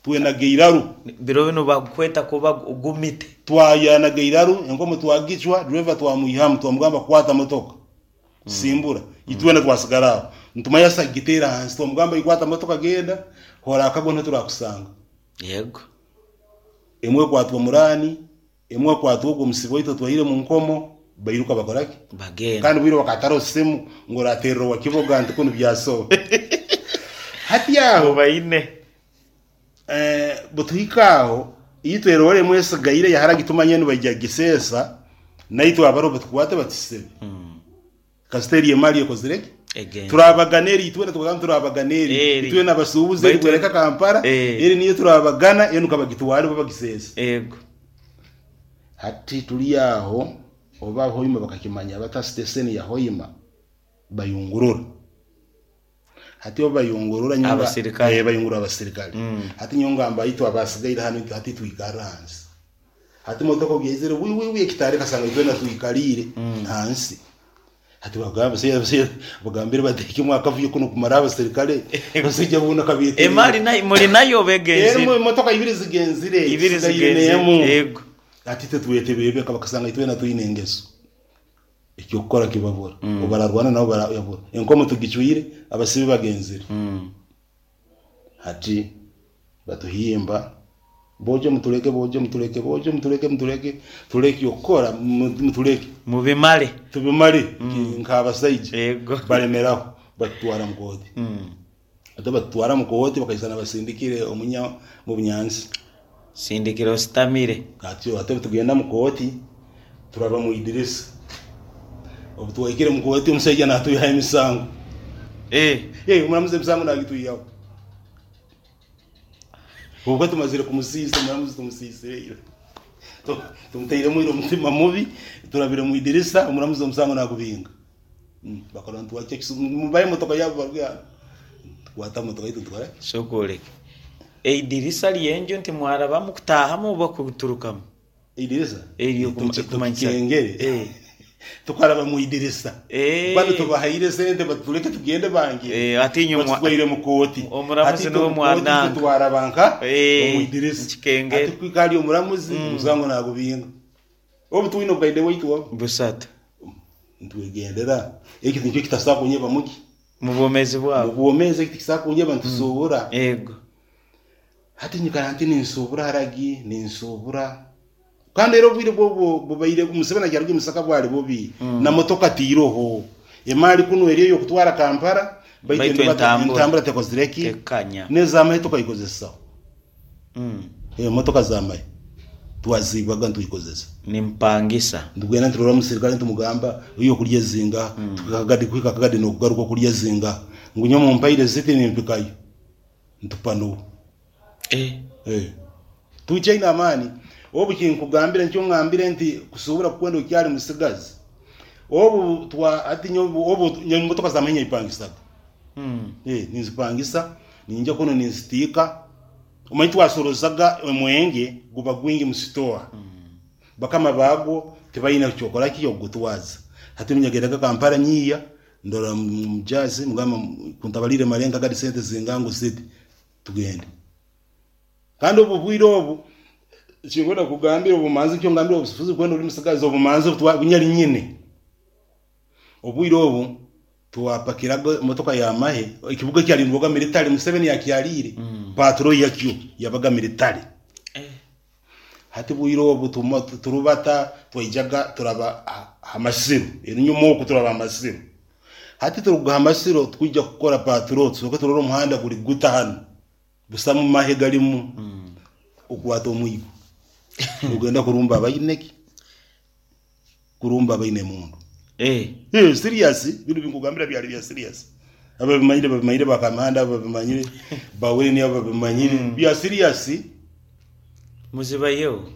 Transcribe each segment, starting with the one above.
Twenaga eiraru. Biro binu bakukweta kuba gumite. Twayanaga eiraru, enkomo twagicwa, driver twamwihamu twamugamba kwata motoka simbura. Itwena twasigara aho. Nitumanya asa kugiteera ahansi. Twamugamba ikwata motoka genda, horakagwa niho turakusanga. Yego. Emwe ekwatwa muraani, emwe ekwatwa ogwo omusibe waitu otwaire omu nkomo, bairuka bakora ki? Bagenda. Kandi obwire bakataraho simu ngu orateerera owa Kiboga nti kunu byasoba. Hati aho Obaine. Eh, butuhika aho itwe eroore emwe esigaire yaharagi tumanye nibaija kugiseesa naitwe abariho batukwate batusibe. Kasita eri emali ekozire ki? Egenda. Turabagana eri itwena tukagamba turabagana eri. Eri. Itwena abasuubuzi eri Baitu bwereka Kampala Eh. eri niyo turabagana enu kabagitware bo bagiseese. Ego. Hati turi aho oba Hoima bakakimanya bata siteseni ya Hoima bayungurura. Hati obu bayungurura nyowe Abasirikale. eh, bayungurura abasirikale. Mm. Hati nyowe ngamba itwe abasigaire hanu itwe hati twikarra hansi. Hati motoka obu yaizire wi wi wi ekitaara ekasanga itwena twikaliire hansi. Hati bagamba se se bagambire bateekemu akavuyo kunu kumara abasirikale omusaija boona kabeeterera. Emali nayo muri nayo oba Erimu egenzire? emotoka ibiri zigenzire Ibiri tusigaire zigenzire. n'emu. Ego. Hati itwe twetebebe bakasanga itwena twine engeso. Eky'okukora kibabura. Obu bararwana nabo barabura. Enkomo tugicwire, abasibe bagenzire. Hati batuhimba, Bojo mutuleke, bojo mutuleke, bojo mutuleke, mutuleke, turole eky'okukora, mutuleke. Mubimare. Tubimare nk'abasaija. Yego. Balemeraho, batutwara mu kooti. Hati batutwara mu kooti bakaisana basindikire omunya mu bunyansi. Sindikira ositamire. Hati hati obu tugenda mu kooti, turaba mu idirisa. Obu twahikire mu kooti omusaija naatwihaho emisango. Eh. Eh, omuramuzi emisango naagitwihaho. Obwo tumazire kumusiisa, omuramuzi tumusiisire ira. Tumutairemu ira omutima mubi, turabire mu idirisa, omuramuzi omusango naagubinga. Bakora nitwakya mubahe emotoka yaabo baruge hanu. Tukwata emotoka yaitu nitukoraki? Sooka oreke. Eidirisa ry'enju ntimwarabamu kutaahamu oba kuturukamu? Eidirisa? Eryo kumanyisa. Tukikengere. Eh. Tukaraba mu idirisa. Eh. Banu tubahaire sente batuleke tugende bangire. Eh, hati inywe mwa- Batutwaire mu kooti. Omuramuzi Hati itwe niwe mu kooti mwananga. itwe twaraba nka Eh, omu idirisa. nkikengere. Hati kwika hali omuramuzi omusango nagubinga. Obu twine obukaide bwaitu obu. Busatu. Nitwegendera. Eki nikyo kitasobola kunyeba muki? Mu bwomeezi bwabo. Mu bwomeezi eki tikisobola kunyeba nitusuubura. Ego. Hati nyikara nti ninsuubura haragi, ninsuubura. Kandi era obwire bwo bubaire Museveni akyaruga Masaka bwali bubi. Na motoka tiiroho. Emaali kunu eri ey'okutwara Kampala baitu Baitu endubata entambura. entambura tekozire ki? Tekanya. N'ez'amahe tukaikozesa. Mm. Emotoka z'amahe twaziibaga nitwikozesa. Nimpangisa. Nitugenda niturora omusirikare nitumugamba iwe okurya zingaha, mm. kuhika akagadi n'okugaruka okurya zingaha. Ngu nyowe mumpaire ziti nimpikayo. Nitupanuha. Eh. Eh. Tukyaine amaani. Obu kinkugambire nikyo ngambire nti kusuubura kukwenda okyali musigazi. Obu twa hati nyowe obu nyowe emotoka z'amahe nyepangisaga. Mm. Eh, ninzipangisa, ninja kunu ninzitiika. Omanyi twasorozaga omwenge guba gwingi mu sitowa. Bakama baagwo tibaine kyokora ki okugutwaza. Hati nyagendaga Kampala nyiiya ndora omujaasi mugamba kuntabaliire malenga gadi sente zingaha ngu ziti tugende. Kandi obu bwire obu kinkwenda kukugambira obumanzi nikyo ngambire obufuzi kwenda ori musigazi obumanzi obu bunyari nyine. Obwire obu twapakiraga emotoka y'amahe, ekibuga ekyarindwaga military Museveni yakyariire, patrol yakyo yabaga military. Hati bwire obu turubata twaijaga turaba aha masiro, enyuma oku turaba aha masiro. Hati turuga aha masiro twija kukora patrol tusooke turore omuhanda guri guta hanu, busamu mahe garimu, okwata omwigo nogenda kurumba abaine ki? Kurumba abaine emundu. Eh. Eh, serious, binu binkugambira byali bya serious. Ababimanyire babimanyire bakamanda ababimanyire baweni ababimanyire bya serious. Muzibaiheho.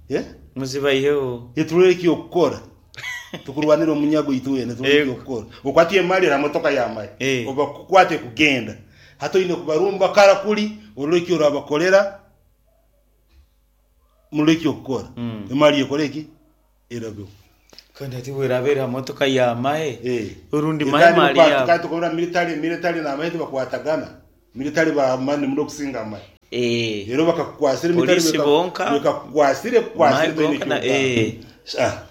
Eh? Muzibaiheho. Turore eky'okukora. Tukurwanira omunyago itwena turore Ego. eky'okukora. Okwate emali era motoka y'amahe. Eh. Obakukwate kugenda. Hati oine kubarumba kara kuri orore eki orabakorera murore eky'okukora. Emali ekore ki? Erabeho. Kandi hati bweraba eri ha motoka y'amahe Eh. orundi Eh, mahe kandi mali bakwata- yaabo. kandi tukabura military military n'amahe tibakwatagana. Military b'amaani muno kusinga amahe. Eh. Reero bakakukwasira emitari Poliisi bonka. bekakukwasire kukwasire Mahe toine gonka na eky'okugamba. eh. Ah,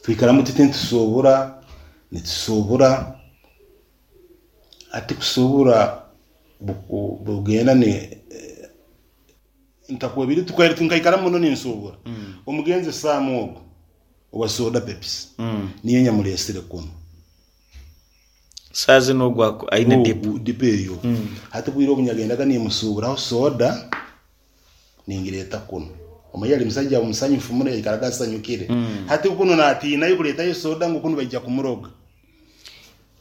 twikaramu tuti nitusuubura nitusuubura hati kusuubura buku- bugenda ni eh, ntakwebire tukaire nkaikara muno ninsuubura omugenzi Sam ogu owa soda Pepsi niyo nyamureesire kunu. Saaha zinu ogu aku- aine dipo. Ogu dipo eyo. Hati bwire obu nyagendaga nimusuuburaho soda ningireeta kunu. Omanya yali musaija musanyufu muno yaikaraga asanyukire. Hati kunu natiinayo kureetayo soda ngu kunu baija kumuroga.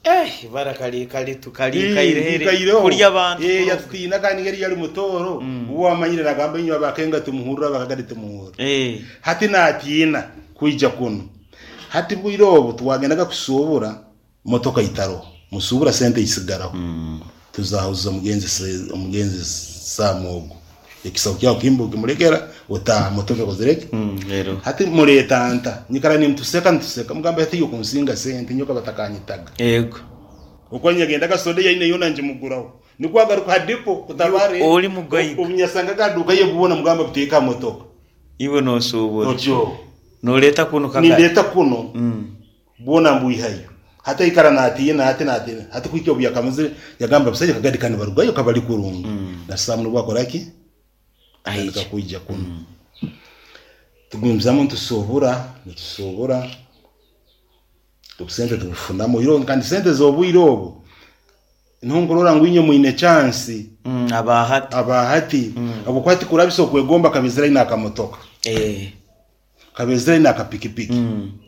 Eh, ibara kali kali tukalikaire Ikaireho. kurya abantu. Eh, kuroga. yatutiina kandi ngeri yali mutooro. Uwe amanyire nagamba inywe abakenga tumuhurra abakagadi tumuhurra. Eh. Hati natiina kwija kunu. Hati bwire obu twagendaga kusuubura motoka itaroho. Musuubura sente isigaraho. Tuzahuza omugenzi omugenzi Sam ogu. Ekisaho kyawe kimbu kimulekera otaaha motoka ekozire ki? Rero. Hati mureeta nta nyikara nimutuseka nituseka mugamba hati yokunsinga sente nyowe batakanyitaga. Yego. Okwo nyagendaga soda yaine yona ngimuguraho. Nikwo agaruka ha dipo kutabare. Oli mugaiga. Obunyasangaga aduka ye bwona mugamba buteeka aha motoka. Iwe nosuubura. Otyo. Noreeta kunu kagari. Nindeeta kuno bwona mbwihayo. Hati aikara natiina hati natiina. Hati kuhika obu yakamazire yagamba busaija kagadi kani barugayo kabali kurungi. Na Sam nubwo akora ki? Atandika Aija. kwija kunu. Tugumizamu nitusuubura nitusuubura obusente tubufunamu oihireho kandi sente z'obwire obu niho nkurora ngu inywe mwine chance Aba hati. Aba hati habwokuba tikurabisa okwegomba kabezire aine akamotoka. Eh. Kabezire aine akapikipiki.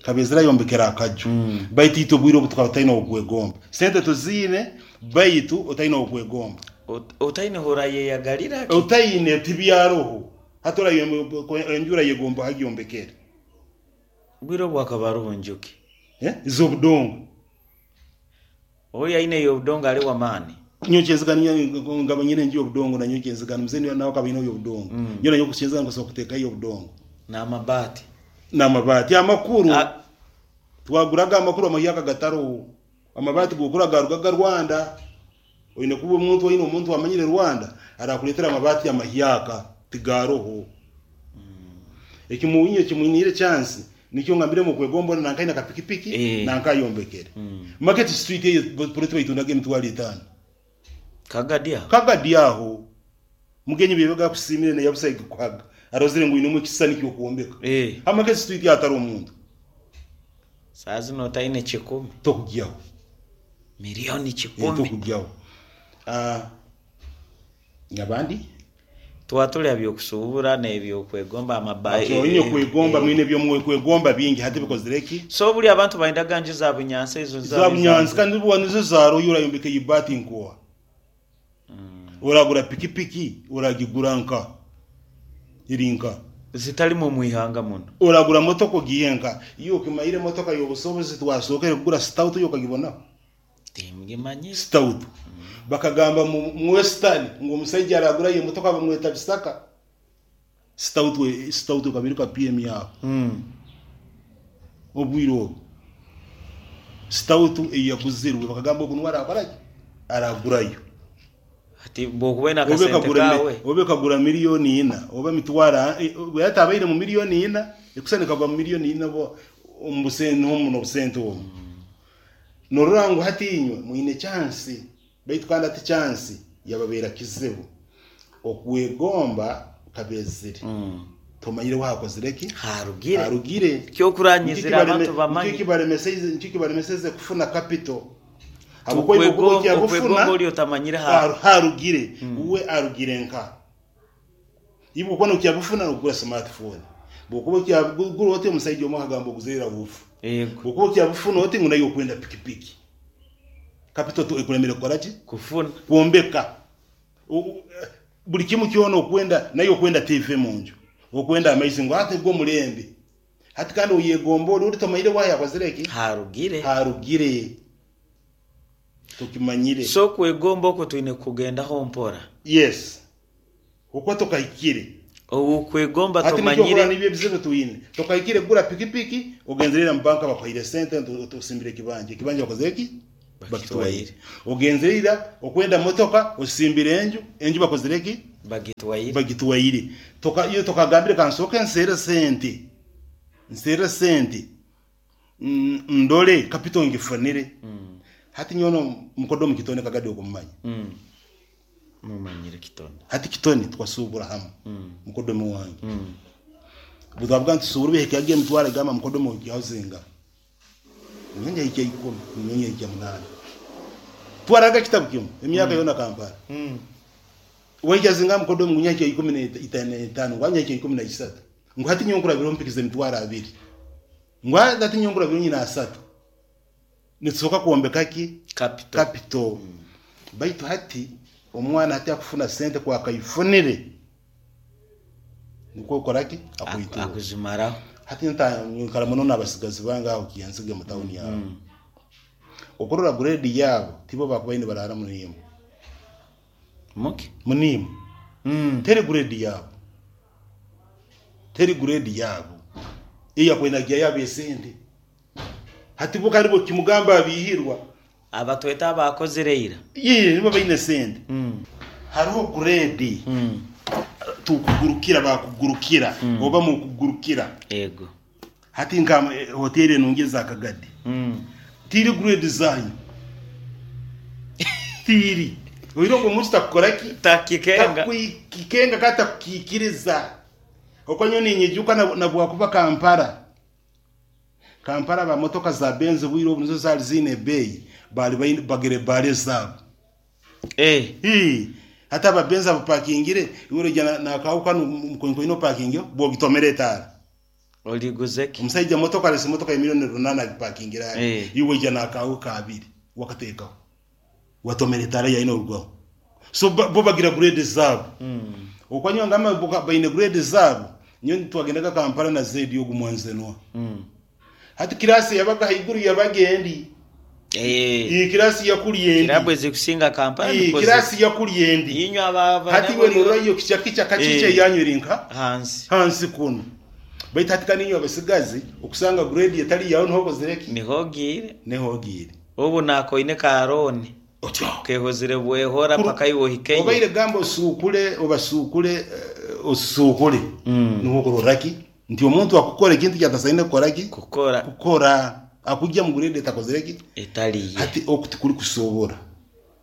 Kabezire ayombekere akaju. Baitu itwe obwire obu tukaba tutaine okwegomba. Sente tuziine baitu otaine okwegomba. Otaine horayeyagalira ki? Otaine tibyaroho. Hati enju orayegomba hagyombekere. Obwire obu hakaba haroho njuki. Eh? Z'obudongo. Oyo aine ey'obudongo ali w'amaani. Nyowe kyenzigana nkaba nyine enju y'obudongo nanyowe kyenzigana mzee nawe akaba aine ey'obudongo. Nyowe nanyowe kyenzigana nkasobora kuteekayo ey'obudongo. N'amabaati. N'amabaati amakuru. Ah. Twaguraga amakuru amahyaka gataroho. Amabaati gokura garugaga Rwanda. Oine kuba omuntu oine omuntu amanyire Rwanda arakuleetera amabaati amahyaka tigaroho. Ekimuwinyo ekimwiniire chance nikyo ngambire okwegomba ona nanka aine akapikipiki Eh. nanka ayombekere. Market Street eyo poloti baitundaga 50,000. Kagadi aho. Kagadi aho. Mugenyi byebega akusiimire naye busaige kuhaga. Arozire ngu oinemu ekisisani ky'okwombeka. Eh. Ha Market Street hatari omuntu. Saaha zinu otaine kikumi. Tokugyaho. Milioni Eh, kikumi. tokugyaho. Ah, abandi? Twatuli aha by'okusuubura n'ebyokwegomba amaba. Atyo oine kwegomba mwine eby'okwegomba bingi hati bikozire ki? So buri abantu baindaga nju za bunyansi ezo Za bunyansi kandi buba nizo zaroyo orayombeka eibaati nkoha. Oragura pikipiki oragigura nka eri nka. Zitarimu omu ihanga muno. Oragura motoka ogihe nka. Iwe okimayire emotoka y'obusobozi twasookere kugura stout yo okagibonaho? Tingimanyire. Stout. Bakagamba mu Western ngu omusaija aragura emotoka bamweta Bisaka. Stout stout ekaba ka PM yaho. Obwire obu. Stout eyaguzirwe bakagamba ogu niwe arakora ki? Aragurayo. Hati bwokuba oine Obe akasente kagura kaawe. obe kagura 4,000,000 oba mitwara yatabaire mu 4,000,000 ekusana kagwa mu 4,000,000 bo omu busente omu n'obusente omu. Norora ngu hati inywe mwine chance baitu kandi hati chance yababeera kizibu. Okwegomba kabezire. Tomanyire wakozire ki? Harugire. Harugire. Kyokuranyizira abantu bamanye. Nikyo kibaremeseze kufuna capital. Habwokuba Okwegomba kyabufuna okwegomba ori otamanyire ha. Harugire. Uwe arugire nka. Ibu kuba nokyabufuna nokugura smartphone. Bwokuba okyabugura oti omusaija omwe akagamba oguzirira bufu. Yego. Bwokuba okyabufuna oti ngu nayo okwenda pikipiki. Capital tu ekulemere kukora ki? Kufuna. Kwombeka. Buli kimu kyona okwenda nayo okwenda TV munju. Okwenda amaizi ngu ate gwo mulembe. Hati kandi oyegomba ori tomanyire wayakozire ki? Harugire. Harugire. Tukimanyire. So kwegomba okwo twine kugendaho mpora. Yes. Okwo tokahikire. Okwegomba Hati nikyo okora tomanyire. nibyo ebizibu twine. Tokahikire kugura pikipiki ogenzerera mu banka bakuhaire sente tusimbire ekibanja. Ekibanja bakozire ki? Bakitwaire. Ogenzire ira okwenda motoka osimbire enju, enju bakozire ki? Bagitwaire. Bagitwaire. Toka iwe tokagambire kansooke nseere sente, nseere sente ndore capital ngifunire. Hati nyowe no mukodomi Kitone Kagadi okumumanya? Mumanyire Kitone. Hati Kitone tukasuubura hamwe mukodomi wange. Butwavuga nti tusuubura ebihikyaga emitwaro egamba mukodomi ohikyaho zingaha? Nyowe nyahikya ikumi, nyowe nyahikya munaana. Twaraga kitabu kimwe emyaka yoona Kampala. Wahikya zingaha mukodomi ngu nyahikya 15 ngu nyahikya 13. Ngu hati nyowe nkurabiraho mpikize emitwaro abiri. Ngu hati nyowe nkurabiraho nyine asatu. Nitusoboka kwombeka ki? Capital. Capital. Baitu hati omwana hati akufuna sente ku akaifunire nikwo okora ki? Akwitura. Akuzimaraho. Hati nkara muno n'abasigazi bange aho Kiyanzige mu tawuni aho. Okurora grade yaabo tibo bakubaire nibaraara muniimu. Muki? Muniimu. Teri grade yaabo. Teri grade yaabo. Eyakubaire nagihayo ab'esente. Hati bo kandi bwokimugamba abihirwa. Abatweta abaakozire ira. Yee, nibo baine sente. Hariho grade tukugurukira bakugurukira oba mukugurukira. Ego. Hati nka hoteri enungi eza Kagadi tiri grade zanyu tiri. Oire ogwo omuntu takukora ki? Takikenga. Takukikenga kandi takukikiriza. Okwo nyowe ninyijuka na bwakuba Kampala. Kampala ba motoka za Benz obwire obu nizo zali ziine ebeeyi baali baine bagire baali ezaabo. Eh. Hii hati aba Benz abapakingire iwe oroija na nakaawe kanu mukoinkoine opakingeho bwogitomera etaara. Origuze ki? Omusaija motoka arese motoka ya milioni runana agipakingire ari Eh. iwe waija nakaawe kaabiri wakateekaho watomera etaara yaine orugaho. So bo bagira grade zaabo. Okwa nyowe ngamba bo baine grade zaabo, nyowe twagendaga Kampala na Zedi ogu mwanzenwa. Hati kirasi eyabaga haiguru yabaga endi. Eh. Kirasi yakuri endi. Kirabu ezikusinga Kampala Ii, nikwo kirasi yakuri endi. Inywe aba Hati iwe norora iyo kicha kicha kachicha Eh. eyanyu eri nka hansi. Hansi kunu. Baitu hati kandi inywe abasigazi okusanga grade etari yawe niho okozire ki? Niho ogiire. Niho ogiire. Obu nakoine ka loan. Otyo. Kehozire bwehora paka iwe ohikeyo. Obaire gamba osuukule obasuukule osuukule niho okurora ki nti omuntu akukora ekintu eki atasaine kukora ki? Kukora. Kukora. Akugya mu grade etakozire ki? Etari ye. Hati oku tikuri kusobora.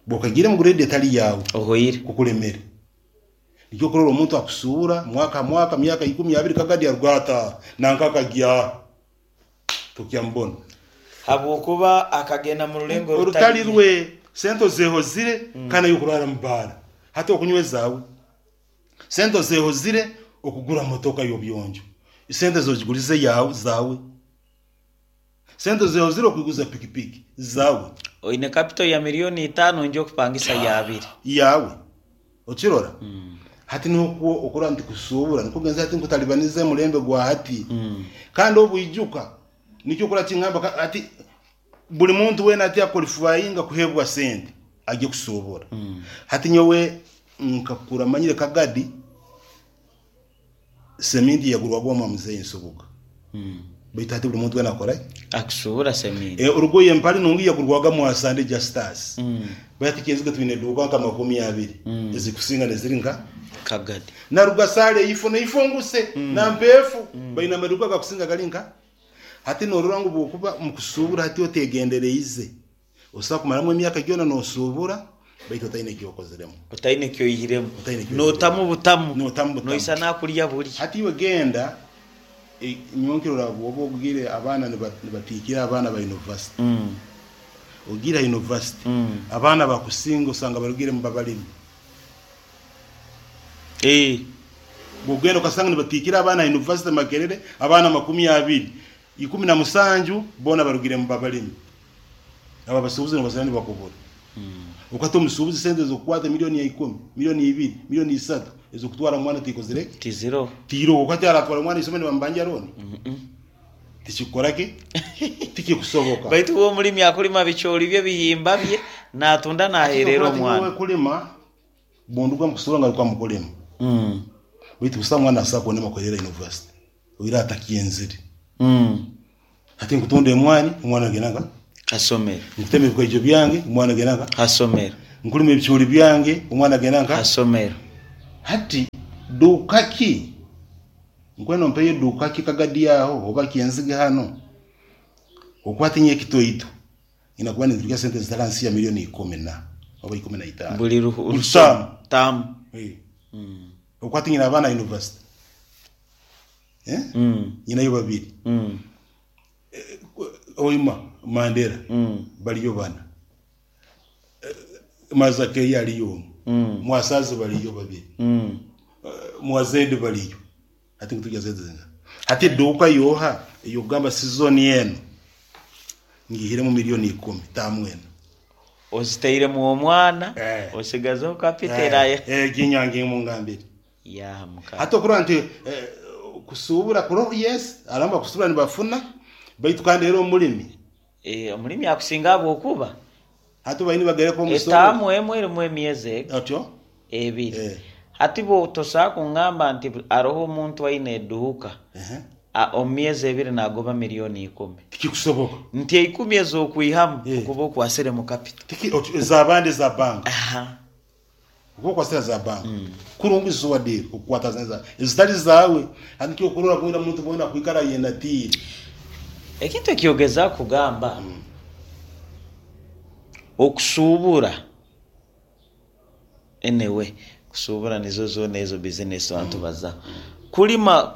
Bwokagiire mu grade etari yaawe. Ohoire. Kukulemere. Nikyo okurora omuntu akusuubura mwaka ha mwaka myaka ikumi abiri kagadi aruga ataaha nanka akagya. Tukyamubona. Habwokuba akagenda mu rulengo orutari rwe. Sente ozehozire kandi ay'okurara mu baara. Hati okunywa ezaawe. Sente ozehozire okugura motoka y'obuyonjo. Sente zogigurize yaawe zaawe. Sente ozehozire okuguza pikipiki zaawe. Oine capital ya milioni itaano nja okupangisa ya abiri. Yaawe. Okirora? Hati nokwo okurora nti kusuubura nikwo kugenza hati nkutalibaniza emulembe gwa hati. Kandi obwijuka nikyo okurora kingamba hati buri muntu weena hati akwalifayinga kuheebwa sente agye kusuubura. Hati nyowe nkakura manyire Kagadi seminti yagurwaga omwa muzeeyi Nsubuga. Baitu hati buri muntu weena akora ki? Akusuubura seminti. Orugoye empare nungi yagurwaga Mwasande Justus. Baitu hati Kyenzige twine eduuka nka 20 ezikusinga neziri nka Kagadi. Na Rugasale eifo neifo nguse na Mpeefu baine amaduuka agakusinga gari nka. Hati norora ngu bwokuba omukusuubura hati otegendereize Osobola kumaramu emyaka gyona nosuubura baitu otaine eki okoziremu. Otaine eki oihiremu. Otaine eki oihiremu. Notamu butamu. Notamu butamu. Noisa nakurya buri. Hati iwe genda, nyowe nkirora bwoba ogiire abaana nibatiikira abaana ba university. Ogiire ha university, abaana bakusinga osanga barugire mu babalimi. Bwogenda okasanga nibatiikira abaana ha university Makerere, abaana 20, 17 boona barugire mu babalimi. Abo abasuubuzi nibasana nibakubura. Okata omusuubuzi sente ez'okukwata milioni ya ikumi, milioni ibiri, milioni isatu ez'okutwara omwana tikozire ki? Tiziroho. Tiroho. Okati aratwara omwana isomero nibamubanja looni? Tikikukora ki? Tikikusoboka. Baitu uwe omulimi akulima bicoori bye, bihimba bye, naatunda naaheerera omwana. Nyowe kulima, bunduga mukusuubura ngaruka mukulima. Baitu busaho mwana asobola kundema kuheerera university. Oira atakyenzire. Hati nkutunda emwani, omwana agenda nka? Ha somero. Nkutema ebikaijo byange, omwana agenda nka. Ha somero. Nkulima ebicoori byange, omwana agenda nka. Ha somero. Hati duuka ki? Nkwenda ompeyo eduuka ki Kagadi aho oba Kyenzige hano? Okwata inye ekitoito, nyina kuba ninturya sente ezitari hansi ya milioni ikumi na oba 15. Buri Buri taamu. taamu. Okwata nyina abaana yunivasite. Nyinayo babiri. Hoima, Mandera bariyo bana. Mazakeyo ariyo omwe. Mwasazi bariyo babiri. Mwazedi bariyo. Hati ngu turya sente zingaha? Hati eduuka yooha ey'okugamba sizoni enu ngiihiremu milioni 10 taamu enu. Ozitairemu omwana, Eh. osigazeho kapito eraya. Egi mungambire. Yaha mukama. Hati okurora nti kusuubura kuroho yes, hariho abakusuubura nibafuna baitu kandi era omurimi. Omurimi akusinga ahabw'okuba Hati baine nibagereka omusoro. Etaamu emwe erimu emyezi Otyo? ebiri. Eh. Hati bo tosobola kungamba nti hariho omuntu aine eduuka omu myezi ebiri nagoba milioni 10. Tikikusoboka. Nti eikumi ez'okwihamu okuba okwasiremu kapito. Tiki, otyo, ez'abandi eza banka. Aha. Okuba okwasire za banka. Kurungi zo wadiire okukwata ezitari zaawe. Hati nikyo okurora bwena omuntu bwena akwikara ayenatiire. Ekintu eki ogezaho kugamba, okusuubura, anyway, kusuubura nizo zoona ezo bizinesi abantu bazaho. Kulima,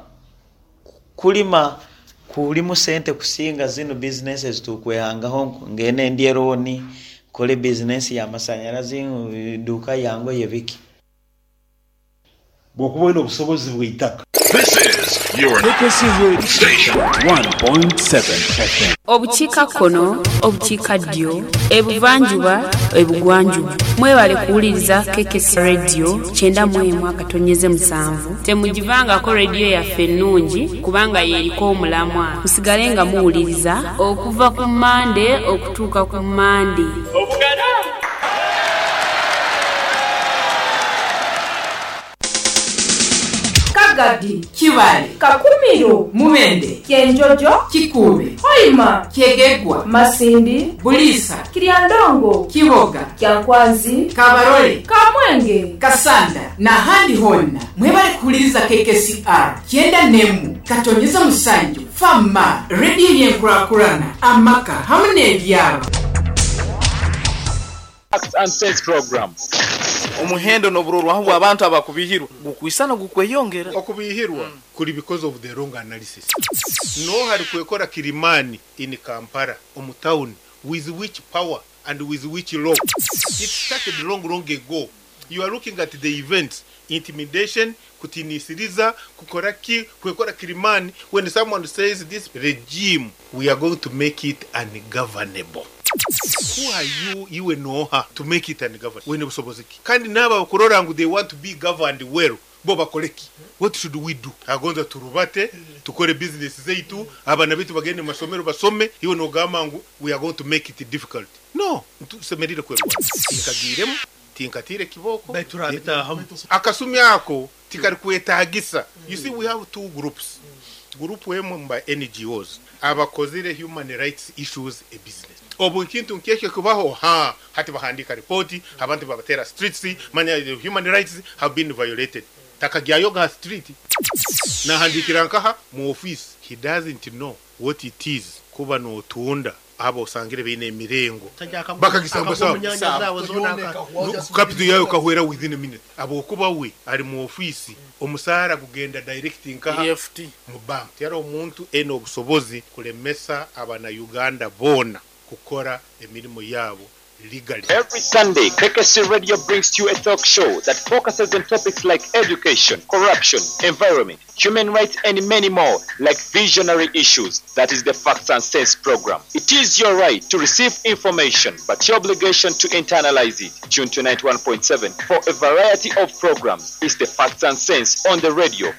kulima kurimu sente kusinga zinu bizinesi ezi turikwehangaho ngu ngende ndye looni, nkore bizinesi y'amashanyarazi, eduuka yange biki. Bw'okuba oine obusobozi bw'eitaka. This is your KKC Radio station. 1.7 FM. Obukiikakkono, Obukiikaddyo, Ebuvanjuba, Ebugwanjuba. Mwebale kuwuliriza KKC Radio 91.7. Temugivangako rediyo yaffe ennungi kubanga y'eriko omulamwa. Musigale nga muwuliriza okuva ku Mmande okutuuka ku Mmande. Kagadi, Kibale, Kakumiro, Mubende, Kyenjojo, Kikuube, Hoima, Kyegegwa, Masindi, Buliisa, Kiryandongo, Kiboga, Kyankwanzi, Kabarole, Kamwenge, Kasanda n'ahandi honna mwebale kuhuliriza KKCR 91.7 Fama rediyo y'enkurakurana amaka hamu n'ebyaro. Facts and Sense program. Omuhendo n'oburorwaho bw'abantu abakubihirwa gukwisana gukweyongera. Okubihirwa kuri because of the wrong analysis. No hari kwekora Kilimani in Kampala omu town with which power and with which law. It started long long ago. You are looking at the events, intimidation, kutinisiriza, kukora ki, kwekora Kilimani. When someone says this regime, we are going to make it ungovernable. Who are you, iwe noha, to make it ungovernable? Wene busobozi ki? Kandi n'aba bakurora ngu they want to be governed well, bo bakore ki? What should we do? Agonza turubate, tukore business zeitu, abana bitu bagende mu masomero basome, iwe nogamba ngu we are going to make it difficult. No, tusemerire kwerwana. Tinkagiremu, tinkatire kiboko. Akasumi ako tikari kwetagisa. You see, we have two groups. Group emwe mba NGOs abakozire human rights issues a business. Obu nkintu nkekyo kubaho ha hati bahandika ripoti abantu babatera streets manya the human rights have been violated. Takagyayo ga street nahandikira nkaha mu office. He doesn't know what it is kuba notunda abo osangire beine emirengo bakagisamba sawa capital yayo kahwera within a minute. Abo kuba we ari mu office omusara kugenda direct nkaha EFT mu bank. Yari omuntu ene obusobozi kulemesa abana Uganda bona kukora emirimo yabo legally. Every Sunday, KKC Radio brings you a talk show that focuses on topics like education, corruption, environment, human rights, and many more, like visionary issues. That is the Facts and Sense program. It is your right to receive information, but your obligation to internalize it. Tune to 91.7 for a variety of programs. It's the Facts and Sense on the radio.